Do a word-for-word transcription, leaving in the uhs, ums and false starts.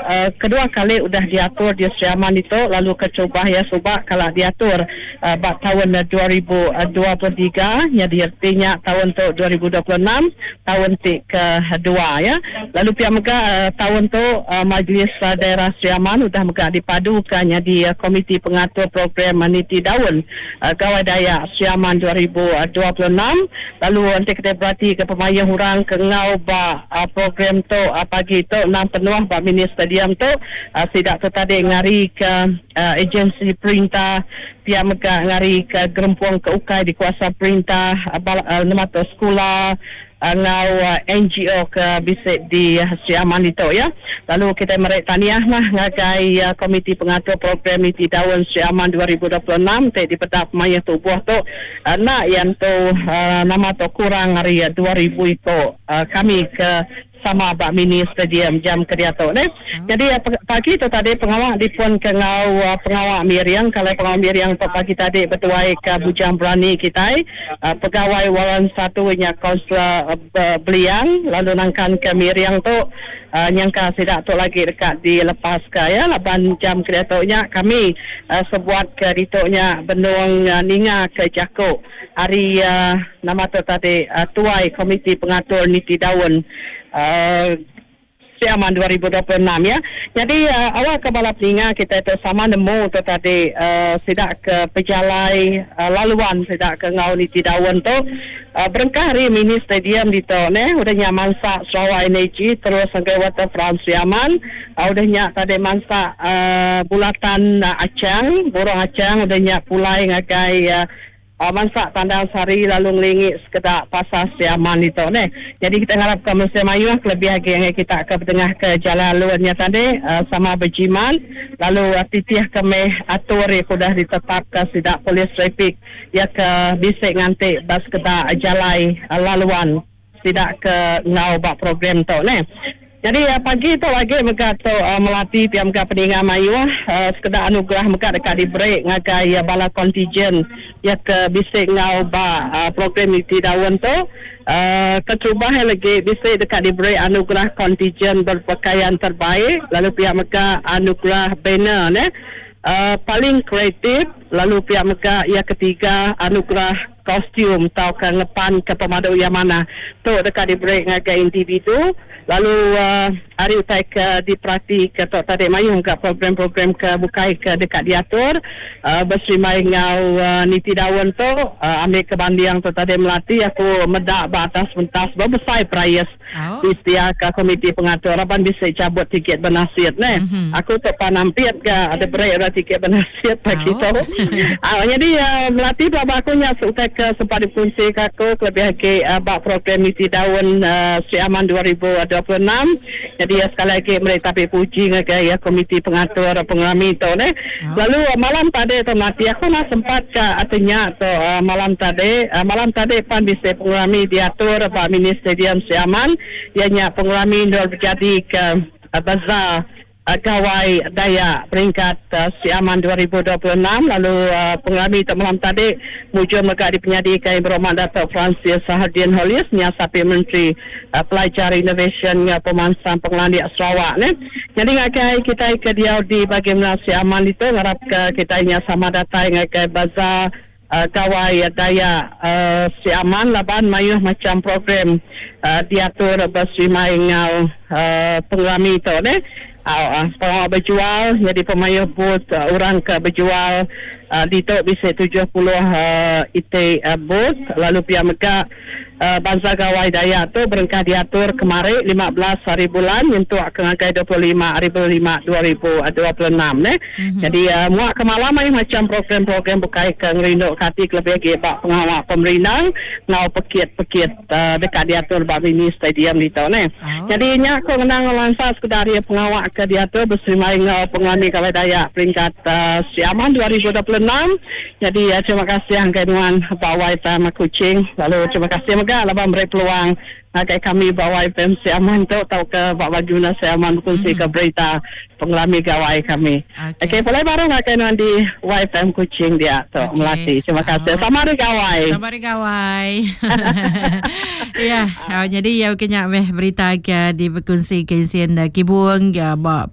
uh, kedua kali udah diatur di Sri Aman itu lalu keterubah ya suba kala diatur uh, ba tahun dua ribu dua puluh tiga jadi artinya tahun tu dua ribu dua puluh enam tahun ti kedua ya. Lalu pihak mega uh, tahun tu uh, Majlis uh, Daerah Sri Aman udah mega dipadukan jadi uh, komiti pengatur program Niti Daun uh, Gawai Dayak Sri Aman dua ribu dua puluh enam. Lalu nanti kita berarti ke pemayuh orang ke ngau ba uh, program tu uh, pagi tu enam penuh ba mini stadium tu uh, sidak tu tadi ngari ke uh, agensi perintah pihak mega ngari ke gerempung ke ukai di kuasa perintah uh, bala, uh, nama tu sekolah uh, ngau uh, N G O ke bisik di uh, Sri Aman itu ya. Lalu kita merek tahniah lah ngagai uh, komiti pengatur program Niti Daun Sri Aman dua ribu dua puluh enam te di pedak maya tubuh tu uh, nak yang tu uh, nama tu kurang hari uh, dua ribu itu uh, kami ke sama bak mini stadium jam kediato ne. Hmm. Jadi pagi tu tadi pengawak dipun ke ngau pengawak miriang kalau pengawak miriang tu pagi tadi bertuai ke Bujang Berani kita uh, pegawai waran satu nya kaunselor uh, Beliang lalu nangkan ke miriang tu uh, nyangka sidak tu lagi dekat dilepas ke ya laban jam kediato nya kami uh, sebuat ke ditoknya benung uh, ninga ke Jakok hari uh, nama tu tadi uh, tuai komiti pengatur Niti Daun Uh, Sri Aman dua ribu dua puluh enam ya. Jadi uh, awal ke bala peninga kita itu sama nemu tu tadi uh, sidak ke pejalai uh, laluan sidak ke ngau Niti Daun tu uh, berengkah hari mini stadium di tu ne udah nya mansak Sarawak Energy terus sampai Waterfront Sri Aman uh, udah nya tadi mansak uh, bulatan uh, Acang Borong Acang udah nya pulai ngagai uh, Uh, mansak Tandang Sari lalu ngelingi sekedak pasar Sri Aman itu ne. Jadi kita harapkan mesti mayuh kelebih lagi yang kita ke tengah ke jalan luarnya tadi uh, sama berjiman lalu uh, titih kemeh atur yang sudah ditetapkan sidak polis trafik ya ke bisik ngantik bas kedak jalai uh, laluan sidak ke ngau bak program tu ne. Jadi uh, pagi tu lagi mereka tu uh, melatih pihak mereka peningan mayuh uh, sekedar anugerah mereka dekat diberi ngagai uh, bala kontijen ya ke bisik ngau ba uh, program Niti Daun tu uh, keterubah lagi bisik dekat diberi anugerah kontijen berpakaian terbaik lalu pihak mereka anugerah banner ne uh, paling kreatif lalu pihak mereka yang ketiga anugerah kostum atau ke ngepan ke pemadu yang mana tu dekat diberi ngagai individu lalu uh, hari utai ke diperhati ke tok tadi mayung ke program-program ke bukai ke dekat diatur uh, berserimai ngau uh, Niti Daun tu uh, ambil ke bandiang tu tadi melati aku medak ba atas pentas berbesar prize oh. Di setia ke komiti pengatur raban bisa cabut tiket bernasid ne mm-hmm. Aku tu panampit ke ada beri ora tiket bernasid pagi oh. tu uh, jadi uh, melati bapa aku nya utai ke sempat dikongsi ke aku kelebih lagi uh, bak program Niti Daun uh, Sri Aman dua ribu dua puluh enam. Jadi ya, sekali lagi mereka tapi puji ngagai ya komiti pengatur pengerami tu ne. Oh. Lalu uh, malam tadi tu mati aku nak sempat ke artinya tu uh, malam tadi uh, malam tadi pan bisa pengerami diatur bak mini stadium Sri Aman ianya pengerami nur berjadi ke uh, bazar Gawai Dayak peringkat uh, Sri Aman dua ribu dua puluh enam lalu uh, pengerami itu malam tadi mujur mereka dipenyadikan Berhormat Dato' Francis Hardian Holis Nyasapi Menteri uh, Pelajar Innovation uh, Pemansang Pengelandik Sarawak ne. Jadi ngakai kita ke dia di bahagian Sri Aman itu ngarap ke kita nya sama datang ngakai bazar Uh, Gawai Dayak uh, Sri Aman laban mayuh macam program uh, diatur berserimai ngau uh, pengerami tu ne. Uh, uh, berjual jadi pemayuh booth uh, orang ke berjual uh, di tu bisa tujuh puluh uh, I T uh, booth lalu pihak mereka uh, Bangsa Gawai Dayak tu berengkah diatur kemarin lima belas hari bulan untuk akan ngagai dua puluh lima hari bulan lima dua ribu dua puluh enam ne. Mm-hmm. Jadi uh, muak ke malam ai macam program-program bukai ke ngerinduk kati lebih lagi bak pengawak pemerintah ngau pekit-pekit uh, dekat diatur bak mini stadium di tu ne. Oh. Jadi nya aku ngenang lansa sekedar ya pengawak ke diatur bersama ngau pengerami Gawai Dayak peringkat uh, Sri Aman dua ribu dua puluh enam. Jadi uh, terima kasih angkai nuan Bawai Tama Kuching lalu terima kasih mega laban beri peluang ngagai kami Bawai F M Sri Aman tu tau ke Bak Bajuna Sri Aman berkongsi mm-hmm. ke berita pengelami gawai kami. Okey, okay, boleh baru ngagai nuan di Y F M Kuching dia tu okay. Melati. Terima kasih. Oh. Sama hari gawai. Sama hari gawai. Ya, oh, jadi ya kenyak meh berita ke di berkongsi ke isian kibung ya bak